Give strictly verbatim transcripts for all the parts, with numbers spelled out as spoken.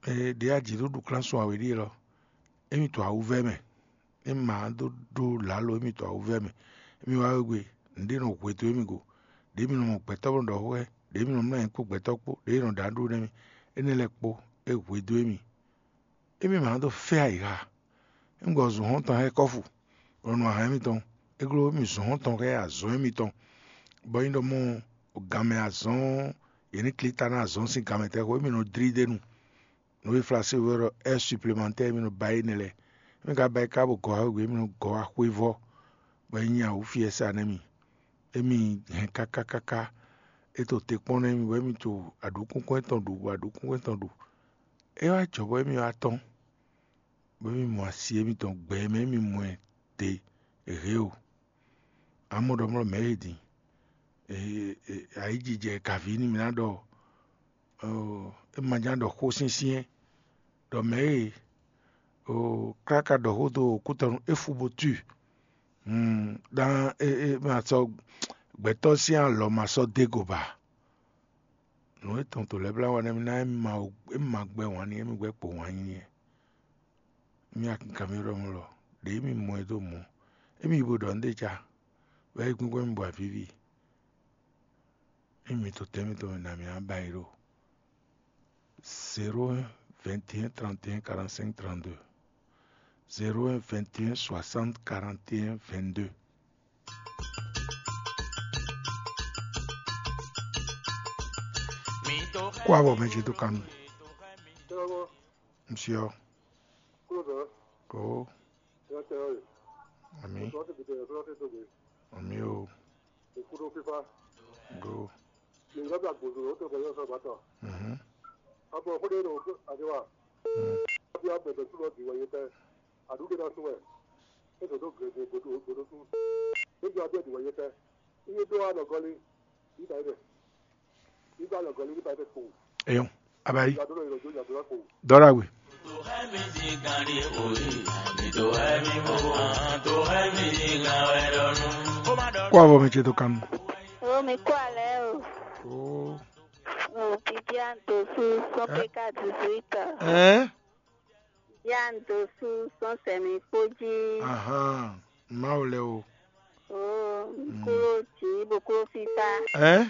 Ee, ɖě a jǐ ɖó ɖu klán sun awě ɖíe lɔ, émi to awuvɛ́ mɛ, émi ma dó ɖó lǎlo émi to awuvɛ́ mɛ. Émi wá wegbe, nǔɖé nɔ hwe dó émi go, ɖěe mi nɔ mɔ gbɛtɔ́ bó nɔ ɖɔ xó xá ɛ, ɖěe mi nɔ mlɔ́ ayǐ kpó gbɛtɔ́ kpó, ɖěe nɔ ɖo aɖú nɛ́ mì, énɛ́ lɛ́ɛ kpó é hwe dó émi. Émi ma dó fɛ́ ayǐ ha. Émi gbɔ zun xɔ́ntɔn xá ɛ kɔ́fu, bɔ nɔ ahan émitɔn, é gló émi zun xɔ́ntɔn xá ɛ azɔ̌n émitɔn, bɔ é nyí ɖɔ mɔ ganmɛ azɔ̌n, yě ní klí ta ná azɔ̌n sín ganmɛ tɛ́ xo, émi nɔ dlí d'é nu. Nǔ e Flasé wɛ ɖɔ heure supplémentaire, émi nɔ ba énɛ́ lɛ́ɛ. Émi ka ba é ká bɔ gɔ̌ wá wegbe, émi nɔ gɔ̌ wá xwé vɔ́, bɔ é nyí awǔ fi ɛ sa nɛ́ mi. Émi hɛn káká káká, é to te kpɔ́n nú émi, bɔ émi to aɖǔkúnkún étɔn ɖu, bɔ aɖǔkúnkún étɔn ɖu. É wá jɔ bɔ émi wá tɔ́n, bɔ émi mɔ asi émitɔn gbɛ e mɛ émi mɔ ɛ ɖe hě o. Amɔ̌ ɖɔ mlɔ́ mɛ̌ e din, ayǐjijɛ kaví nú mì ná ɖɔ, é ma ján ɖɔ xó syɛ́nsyɛ́n ɖɔ mɛ̌ e káká ɖɔ xó dó kútɔnu é fu bó tui. Ɖán é ma sɔ́ gbɛtɔ́ sín alɔ ma sɔ́ dó go ba. Nǔ e tɔn to lɛ́ blá wa nɛ́ mì ná é ma gbɛ́ wǎn n'i, émi gbɛ́ kpo wǎn nyi n'i. Émi akinkan mì ɖɔ mɔ̌ lɔ, ɖě émi mɔ ɛ dó mɔ̌, émi yi bo ɖɔ nǔ ɖé ca, bɔ é yí kpínkpɔ́n mì bɔ avǐvi. Émi to tɛ́ mitɔn mɛ nǎ mì ná ba yi ɖo zéro un vingt et un trente et un quarante-cinq trente-deux, zéro un vingt et un soixante quarante et un vingt-deux. Kó avɔ mɛ ce dó kanu. Monsieur. Kúrò. Oh. Ìyá tẹ ọ́ rè. Àmì. Ìyá tẹ ọ́ rè. Àmì o. Ìkúrò fífá. Go. Ìyá tẹ àgbòdo ló tẹ kọ yọ sọ bàtà. Mhm. Àbọ̀ kó dé lọ àdéhùn. Mm. Àbí àbẹ̀bẹ̀ tó lọ dì wọ̀nyí tẹ. Àdúgbò náà sún ẹ̀. Ètò tó gẹ̀gẹ̀ gbòdó gbòdó sún. Níjọ àbí ẹ̀dì wọ̀nyí tẹ. Iye tó wà lọ́gọ́lé. Nígbà yẹn dẹ̀. Nígbà lọ́gọ́lé nígbà yẹn dẹ̀ kò. Eyɔn, abayi. Ìyá tó lọ ìrọ̀jò ìyá tó lọ kò. Dɔra we. Kó avɔ mɛ ce dó kanu. Ó mi kó alẹ́ o. Ó. Ó Vivian Dosu, sɔ́ pé ká dix-huit ans. Ɛ? Vivian Dosu, sɔ́ sɛmɛ kpó jí. Ahan, Mawu lɛ o. Ó, kúrò jí, bó kúrò fífá. Ɛ?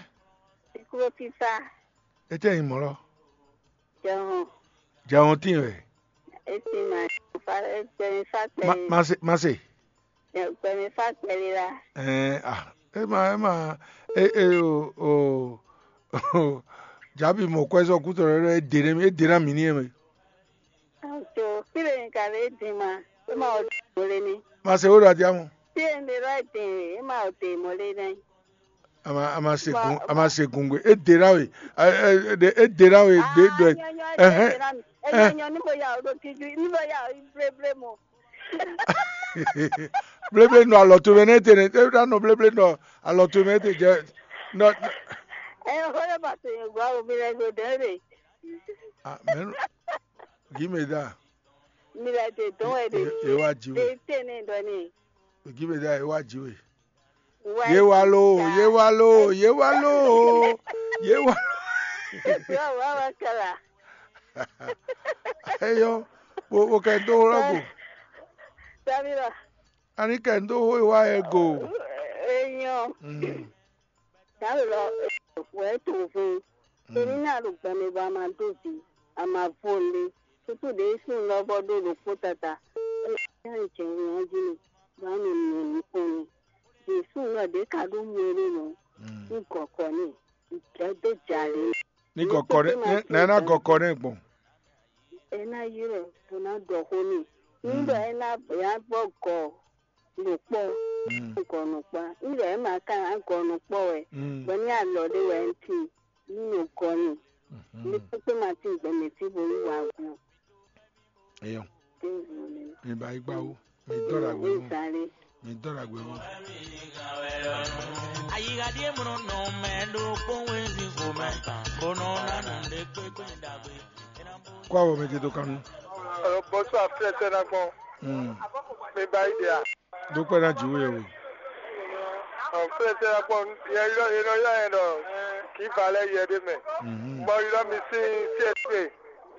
Kúrò fífá. Etɛ yin mɔ lɔ. Jɔhɔn. Jɔhɔn tin wɛ. Esi ma fa gbɛmi fa gbɛ. Ma se ma se. Gbɛmi fa gbɛ lila. Ɛɛ ah e ma e ma e e o o o jabi mɔ kwɛ sɔ kutɔ rɛ e de ne e de na mi ni e mɛ. Ajo kile ni ka le di ma e ma o de mo le ni. Ma se o da dia mo. Ti e mi lɔ de e ma o de mo le ni. A ma a ma se gun a ma se gun gbe. E de na we. E de na we de do. Ɛhɛn. Enyo ni mo ya o do kiju ni mo ya o bleble mo. Bleble nɔ alɔ to mɛ ne te ne e na nɔ bleble nɔ alɔ to mɛ te jɛ nɔ. Ɛ o le ba to yẹn gba o mi lɛ go dɛ de. Ah, mɛ gi me da. Mi lɛ de dɔn ɛ de. E wa ji we. Te ne dɔ ne. Gi me da e wa ji we. Ye wá ló, ye wá ló, ye wá ló, ye wá. Eyɔ, wo wo kɛ do wlɔ go. Sabira. Ani kɛ do wo wa yɛ go. Eyɔ. Mm. Dalo lɔ wɛ to fún. Èmi náà ló gbẹmí bá máa dóbi, a máa vó lé. Tútù ɖě sún lɔ vɔ ɖó ɖokpó tata. Ɛ jɛ ŋlɔ́ jí ni, bá mi mì ní kpɔ́n ni. Jésù lɔ ɖě ka ɖó mɔ ɛ ɖó nɔ. Mm. Ní gɔkɔ ní, ìjẹ́ dó jà lé. Ní gɔkɔ ní, ní ná gɔkɔ ní gbɔn. Ɛ ná ylɔ́ ɛ bó ná ɖɔ xó n'i. Ní ɖɔ ɛ ná bɛ̌ ná gbɔ gɔ ɖo kpɔ́, gɔ nɔ kpá. Ní ɖɔ ɛ má ka ná gɔ nɔ kpɔ́ wɛ, bɔ ní alɔ ɖé wɛ ń tin, ní nɔ gɔ n'i. Ní kpékpé ma tín gbɛmɛ fí bo yí wá gú. Eyɔ. Mi ba yi gba wo. Mi dɔ ɖagbe wo. Mi dɔ ɖagbe wo. Ayiɣaɖie mlɔ nɔ mɛ ɖo kpɔnwé ní xomɛ, bó nɔ ná nɔ ɖe kpékpé ɖagbe. Kó avɔ mɛ ce dó kanu. Alo, bonsoir, frère Sénagon. Mm. Mi ba yi dia. Dó kpɛ ná jǐ wé we. Ɔ, frère Sénagon, yɛ yɔ yɛ nɔ yɔ yɛ nɔ kì í va lɛ yɛ ɖé mɛ. Mhm. Bɔ yɔ mi sí C S P.